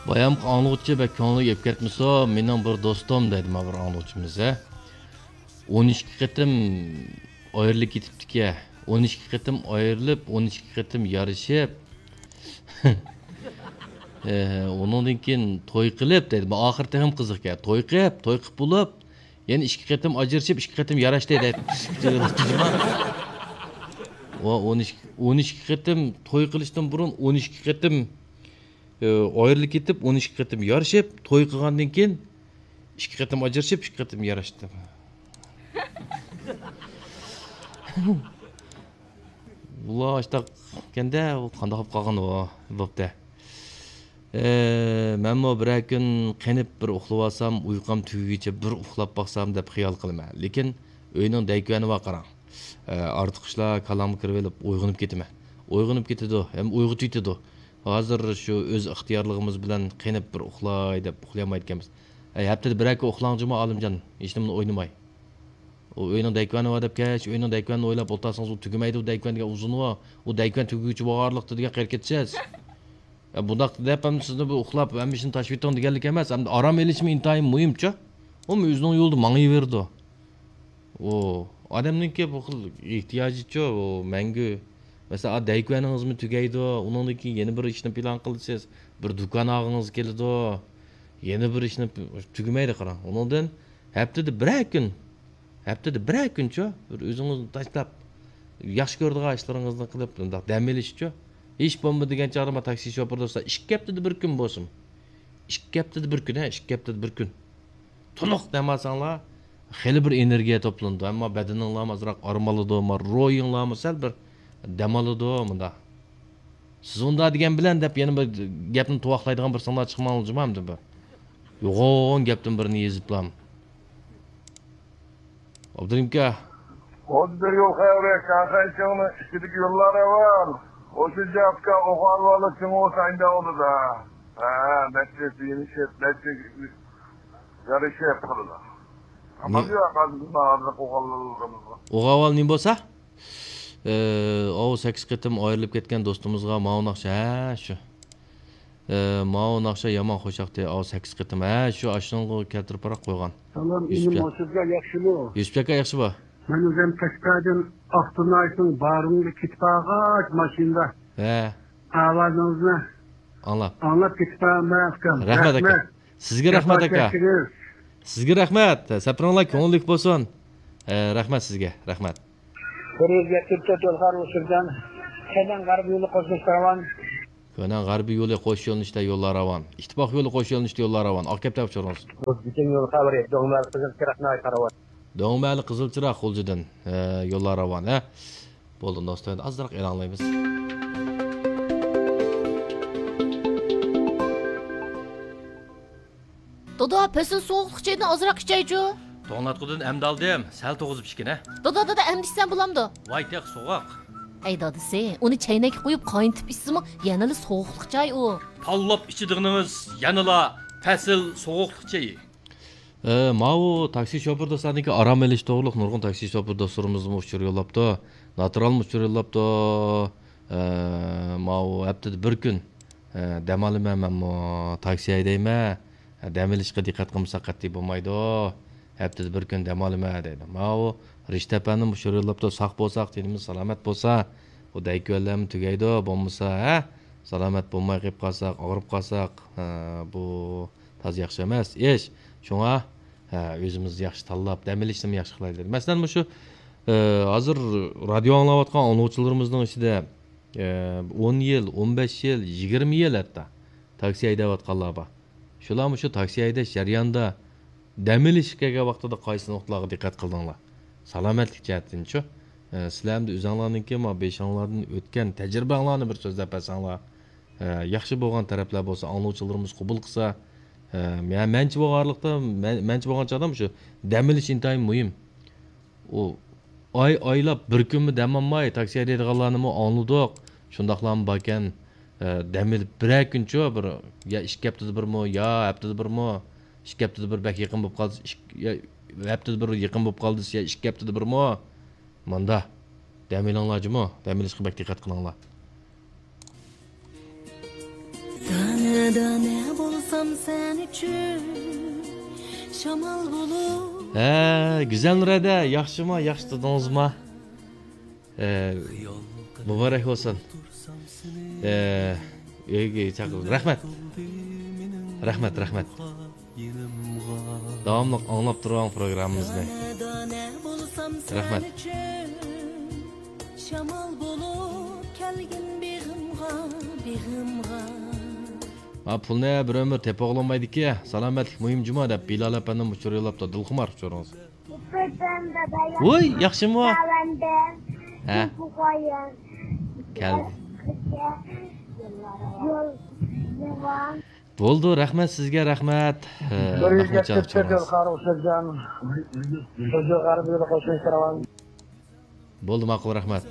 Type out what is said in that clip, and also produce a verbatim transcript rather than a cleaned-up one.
بايامقى ئاڭلىغۇچى بەك كۆڭلىگە ئېلىپ كەتمىسۇن، مېنىڭ بىر دوستۇم دەيدۇ، مانا بىر ئاڭلىغۇچىمىز، ھە. ئون ئىككى قېتىم ئايرىلىپ كېتىپتىكەن. ئون ئىككى قېتىم ئايرىلىپ، ئون ئىككى قېتىم يارىشىپ، ئە، ئۇنىڭدىن كېيىن توي قىلىپ دەيدۇ. بۇ ئاخىرى تېخىمۇ قىزىقكەن. توي قىلىپ، توي قىلىپ بولۇپ، يەنە ئىككى قېتىم ئاجرىشىپ، ئىككى قېتىم ياراشتى دەيدۇ. ۋە ئون ئىككى، ئون ئىككى قېتىم توي قىلىشتىن بۇرۇن ئون ئىككى قېتىم ئى، ئايرىلىپ كېتىپ، ئون ئىككى قېتىم يارىشىپ، توي قىلغاندىن كېيىن ئىككى قېتىم ئاجرىشىپ، ئىككى قېتىم ياراشتى. بۇلار ئاشتاق ئىكەندە، ئۇ قانداق بولۇپ قالغان ئۇ، بوپتۇ. ئى، مەنمۇ بىرەر كۈن قېنىپ بىر ئۇخلىۋالسام، ئۇيقۇم تۈگىگىچە بىر ئۇخلاپ باقسام دەپ خىيال قىلىمەن. لېكىن ئۆينىڭ دەيكۈۋەنى بار قاراڭ. ئە، ئارتۇق ئىشلار كاللامغا كىرىۋېلىپ ئويغىنىپ كېتىمەن. ئويغىنىپ كېتىدۇ، ھەم ئويغا تۈيتىدۇ. ھازىر شۇ ئۆز ئىختىيارلىقىمىز بىلەن قېنىپ بىر ئۇخلاي دەپ ئۇخلىيالمايدىكەنمىز. ئە، ھەپتىدە بىرەر كۈن ئۇخلاڭ جۇمۇ ئالىمجان، ھېچنېمىنى ئوينىماي. ئۇ ئۆينىڭ دەيكۈۋەنى بار دەپ كەچ، ئۆينىڭ دەيكۈۋەنىنى ئويلاپ ئولتۇرسىڭىز، ئۇ تۈگىمەيدۇ، ئۇ دەيكۈۋەن دېگەن ئۇزۇنى بار. ئۇ دەيكۈۋەن تۈگىگۈچە بارلىقتا دېگەن قېرىپ كېتىسىز. يا، بۇنداق دەپ ھەم سىزنى بۇ ئۇخلاپ، ھەممە ئىشنى تاشلىۋېتىڭ دېگەنلىك ئەمەس. ئەمدى ئارام ئېلىشمۇ ئىنتايىن مۇھىمچۇ. ئۇمۇ ئۆزىنىڭ يولىدا ماڭىۋېرىدۇ. ئۇ ئادەمنىڭكى بۇ خىل ئېھتىياجىچۇ، ئۇ مەڭگۈ. مەسىلەن، ئا، دەيكۈۋەنىڭىزمۇ تۈگەيدۇ، ئۇنىڭدىن كېيىن يەنە بىر ئىشنى پىلان قىلىسىز، بىر دۇكان ئالغىڭىز كېلىدۇ، يەنە بىر ئىشنى، تۈگىمەيدۇ قاراڭ. ئۇنىڭدىن ھەپتىدە بىرەر كۈن، ھەپتىدە بىرەر كۈنچۇ، بىر ئۆزىڭىزنى تاشلاپ، ياخشى كۆرىدىغان ئىشلىرىڭىزنى قىلىپ، مۇنداق دەم ئېلىشچۇ. ھېچ بولمىدى دېگەن چاغدا، ما، تاكسى شوپۇرى دوستلار، ئىككى ھەپتىدە بىر كۈن بولسۇن. ئىككى ھەپتىدە بىر كۈن، ھە، ئىككى ھەپتىدە بىر كۈن. تولۇق دەم ئالساڭلار، خېلى بىر ئېنېرگىيە توپلىنىدۇ. ئەمما بەدىنىڭلارمۇ ئازراق ئارام ئالىدۇ، ما، روھىڭلارمۇ سەل بىر دەم ئالىدۇ، مۇنداق. سىز ئۇنداق دېگەن بىلەن دەپ يەنە بىر گەپنى تۇۋاقلايدىغان بىر سىڭلار چىقمامدۇ بىر؟ يوغان گەپتىن بىرنى يېزىپلام. ئابدۇرېھىمكا. خوجا، بىر يول خەۋىرى، شاڭخەي چىڭنىڭ ئىچىدىكى يوللار راۋان. خوجا، جاپكا ئوغانۋالا چىڭ ئۇ سايدا ئولىدا. ھە، نەچچە يېنىشىپ، نەچچە يارىشىپ قىلىدۇ. ئاپام يوق، ھازىر ئوغانلىرىمىزغا. ئوغانۋال نېمە بولسا؟ ئە، ئاۋۇ سەككىز قېتىم ئايرىلىپ كەتكەن دوستىمىزغا ماۋۇ ناخشا، ھە، شۇ. ئە، ماۋۇ ناخشا يامان خۇشياقتى، ئاۋۇ سەككىز قېتىم. ھە، شۇ ئاشۇنىڭغا كەلتۈرۈپ باراپ قويغان. سالام، يۈسۈپ ئىنىم، ئاكا. ھوشۇڭلار ياخشىمۇ؟ يۈسۈپ ئاكا، ياخشى بار. مەن ئۆزۈم قەشقەردىن ئاقتۇرنايسىڭ بارىڭغا كېتىپ بارغاچ ماشىنىدا. ھە. ئاۋازىڭىزنى ئاڭلاپ. ئاڭلاپ كېتىپ بارىمەن، ئۇكام. رەھمەت، ئاكا. رەھمەت. سىزگە رەھمەت، ئاكا. سىزگە رەھمەت. سەپىرىڭلار كۆڭۈللۈك بولسۇن. ئە، رەھمەت سىزگە، رەھمەت. بىر يۈز يەتتە تۆت يول خەۋىرى ئۇچۇردىن. كۆنەن غەربىي يولى قوش يۆنىلىشتە يوللار راۋان. كۆنەن غەربىي يولى قوش يۆنىلىشتە يوللار راۋان. ئىتتىپاق يولى قوش يۆنىلىشتە يوللار راۋان. ئاق كەپتەر ئۇچۇرىڭىز. بۈگۈن يول خەۋىرى، دوڭمەلى قىزىل چىراغ ناھايىتى راۋان. دوڭمەلى قىزىل چىراغ غۇلجىدىن، ئە، يوللار راۋان، ھە. بولدى، دوستلار، ئازراق ئېلان ئالايمىز. دادا، پەسىل سوغۇقلۇق چايدىن ئازراق ئىچەيچۇ. توڭلاتقۇدىن ئەمدى ئالدىم، سەل توغۇزۇپ ئىچكىنە. دادا، دادا، ئەمدى ئىچسەم بولامدۇ؟ ۋاي، تېخى سوغۇق. ئەي دادىسى، ئۇنى چەينەككە قۇيۇپ قاينىتىپ ئىچسىمۇ يەنىلا سوغۇقلۇق چاي ئۇ. تاللاپ ئىچىدىغىنىڭىز يەنىلا پەسىل سوغۇقلۇق چېيى. ئە، ماۋۇ تاكسى شوپۇر دوستلارنىڭكى ئارام ئېلىش توغرۇلۇق نۇرغۇن تاكسى شوپۇر دوستلىرىمىزمۇ ئۇچۇر يوللاپتۇ. ناترالمۇ ئۇچۇر يوللاپتۇ. ئە، ماۋۇ ھەپتىدە بىر كۈن، ئە، دەم ئالىمەن مەنمۇ، تاكسى ھەيدەيمەن. ئە، دەم ئېلىشقا دىققەت قىلمىساق قەتئىي بولمايدۇ. ھەپتىدە بىر كۈن دەم ئالىمەن دەيدۇ. ماۋۇ رىشىت ئەپەندىمۇ ئۇچۇر يوللاپتۇ. ساق بولساق، تېنىمىز سالامەت بولسا، بۇ دەيكۈۋەنلەرمۇ تۈگەيدۇ. بولمىسا، ھە، سالامەت بولماي قېلىپ قالساق، ئاغرىپ قالساق، ئە، بۇ تازا ياخشى ئەمەس ئىش. شۇڭا، ھە، ئۆزىمىز ياخشى تاللاپ، دەم ئېلىشنىمۇ ياخشى قىلايلى. مەسىلەن، مۇشۇ، ئە، ھازىر رادىيو ئاڭلاۋاتقان ئاڭلىغۇچىلىرىمىزنىڭ ئىچىدە، ئە، ئون يىل، ئون بەش يىل، يىگىرمە يىل ھەتتا تاكسى ھەيدەۋاتقانلار بار. شۇلار مۇشۇ تاكسى ھەيدەش جەريانىدا دەم ئېلىشقا كەلگەن ۋاقتىدا قايسى نۇقتىلارغا دىققەت قىلدىڭلار؟ سالامەتلىك جەھەتتىنچۇ؟ ئە، سىلەر ئەمدى ئۆزۈڭلارنىڭكى ما بېشىڭلاردىن ئۆتكەن تەجرىبەڭلارنى بىر سۆزلەپ بەرسەڭلار. ئە، ياخشى بولغان تەرەپلەر بولسا ئاڭلىغۇچىلىرىمىز قوبۇل قىلسا. ئە، مە-، مەنچە بولغانلىقتا، مەن-، مەنچە بولغان چاغدا مۇشۇ دەم ئېلىش ئىنتايىن مۇھىم. ئۇ ئاي ئايلاپ بىر كۈنمۇ دەم ئالماي تاكسى ھەيدەيدىغانلارنىمۇ ئاڭلىدۇق. شۇنداقلارمۇ باركەن، ئە، دەم ئېلىپ بىرەر كۈنچۇ، بىر يا ئىككى ھەپتىدە بىرمۇ، يا ھەپتىدە بىرمۇ، ئىككى ھەپتىدە بىر بەك يېقىن بولۇپ قالدى، ئىك-، يا ھەپتىدە بىر يېقىن بولۇپ قالدى، يا ئىككى ھەپتىدە بىرمۇ. ماندا. دەم ئېلىڭلار جۇمۇ، دەم ئېلىشقا بەك دىققەت قىلىڭلار. دانە دانە بول سەن ئۈچۈن شامال بولۇپ. ھە، گۈزەل نۇرەدە، ياخشىما، ياخشى تۇردىڭىزما؟ ئە، مۇبارەك بولسۇن. ئە، ئۆيگە چاقىرىڭ. رەھمەت. رەھمەت، رەھمەت. داۋاملىق ئاڭلاپ تۇرۇڭ پروگراممىمىزنى. رەھمەت. شامال بولۇپ كەلگىن بېغىمغا، بېغىمغا. ھە، پۇلنى بىر ئۆمۈر تېپىۋالالمايدىكى، سالامەتلىك مۇھىم جۇما دەپ بىلال ئەپەندىم ئۇچۇر يوللاپتۇ، دىلخۇمار ئۇچۇرىڭىز. ۋوي، ياخشىمۇ؟ ھە. كەل. بولدى، رەھمەت سىزگە، رەھمەت. ھە، بىر يۈز يەتمىش تۆت يىل قارىغۇ سۆزگەن. بولدى، ماقۇل، رەھمەت.